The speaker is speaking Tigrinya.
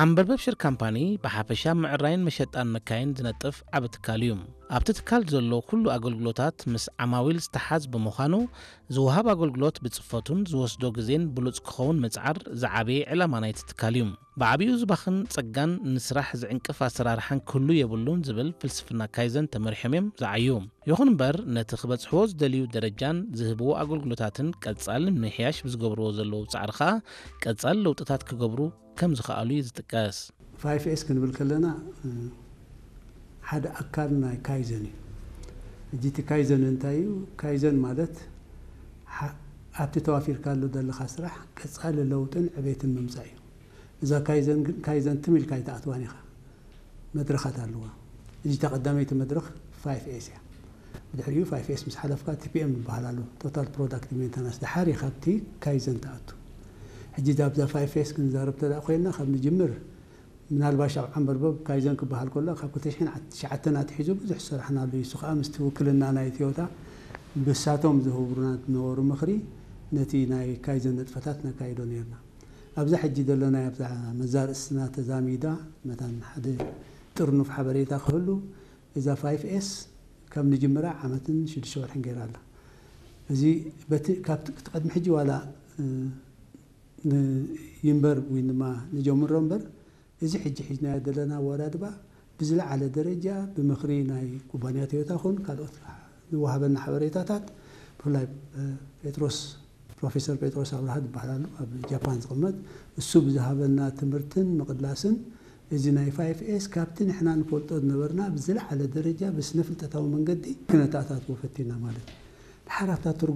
ዓንበርበብ ሽር ካምፓኒ ብሓፈሻ ምዕራይን መሸጣን መካይን ዝነጥፍ ዓቢ ትካል እዩ። ኣብቲ ትካል ዘሎ ኩሉ ኣገልግሎታት ምስ ዓማዊል ዝተሓዝ ብምዃኑ፣ ዝወሃብ ኣገልግሎት ብጽፈቱን ዝወስዶ ግዜን ብሉጽ ክኸውን ምጽዓር ዝዓበየ ዕላማ ናይቲ ትካል እዩ። ብዓቢኡ ዝባኽን ጸጋን ንስራሕ ዝዕንቅፍ ኣሰራርሓን ክህሉ የብሉን ዝብል ፍልስፍና ካይዘን ተመሪሖም እዮም ዝዓዩ። ይኹን እምበር፣ ነቲ ክበጽሕዎ ዝደልዩ ደረጃን ዝህብዎ ኣገልግሎታትን ቀጻሊ ንምምሕያሽ ብዝገብርዎ ዘለዉ ጻዕሪ ኸኣ ቀጻሊ ለውጥታት ክገብሩ ከም ዝኸኣሉ እዩ ዝጥቀስ። ፋይፍ ኤስ ክንብል ከለና ሓደ ኣካል ናይ ካይዘን እዩ። ሕጂ እቲ ካይዘን እንታይ እዩ? ካይዘን ማለት ኣብቲ ተዋፊርካሉ ዘለኻ ስራሕ ቀጻሊ ለውጥን ዕቤትን ምምጻእ እዩ። እዛ ካይዘን ግን ካይዘን ትም ኢልካ ኣይትኣትዋን ኢኻ። መድረኻት ኣለዋ። እዚታ ቀዳመይቲ መድረኽ ፋይፍ ኤስ እያ። ብድሕሪኡ ፋይፍ ኤስ ምስ ሓለፍካ ቲ ፒ ኤም ዝበሃል ኣሎ፣ ቶታል ፕሮዳክቲቭ ሜንተናንስ። ድሓር ኢኻ ኣብቲ ካይዘን ትኣቱ። ሕጂ ኣብዛ ፋይፍ ኤስ ክንዛረብ ተደኣ ኮይንና፣ ካብ ንጅምር ምናልባሽ ኣብ ዓንበርበብ ካይዘን ክበሃል ከሎ ካብ ክልተ ሽሕን ትሽዓተን ኣትሒዙ ብዙሕ ዝሰራሕናሉ እዩ። እሱ ከዓ ምስቲ ውክልና ናይ ቶዮታ ብሳቶም ዝህብሩና ዝነበሩ ምኽሪ ነቲ ናይ ካይዘን ንጥፈታት ነካይዶ ነርና። ኣብዛ ሕጂ ዘለናያ ኣብዛ መዛርእስትና ተዛሚዳ መታን ሓደ ጥርኑፍ ሓበሬታ ክህሉ እዛ ፋይፍ ኤስ ካብ ንጅምራ ዓመትን ሽዱሽተ ወርሕን ገይራ ኣላ። እዚ በቲ ካብቲ ቅድሚ ሕጂ ዋላ ንይንበር ወይ ድማ ንጀምሮ እምበር እዚ ሕጂ ሒዝናዮ ዘለና ኣወዳድባ ብዝለዓለ ደረጃ ብምኽሪ ናይ ኩባንያ ቶዮታ ኹን ካልኦት ዝወሃበና ሓበሬታታት ብፍላይ ጴጥሮስ ፕሮፌሰር ጴጥሮስ ኣብርሃ ዝበሃል ኣሎ ኣብ ጃፓን ዝቕመጥ እሱ ብዝሃበና ትምህርትን ምቕላስን እዚ ናይ ፋይፍ ኤስ ካብቲ ንሕና ንፈልጦ ዝነበርና ብዝለዓለ ደረጃ ብስነ ፍልጠታዊ መንገዲ ክነተኣታትዎ ፈቲና ማለት እዩ። ድሓር ኣብታ ትርጉም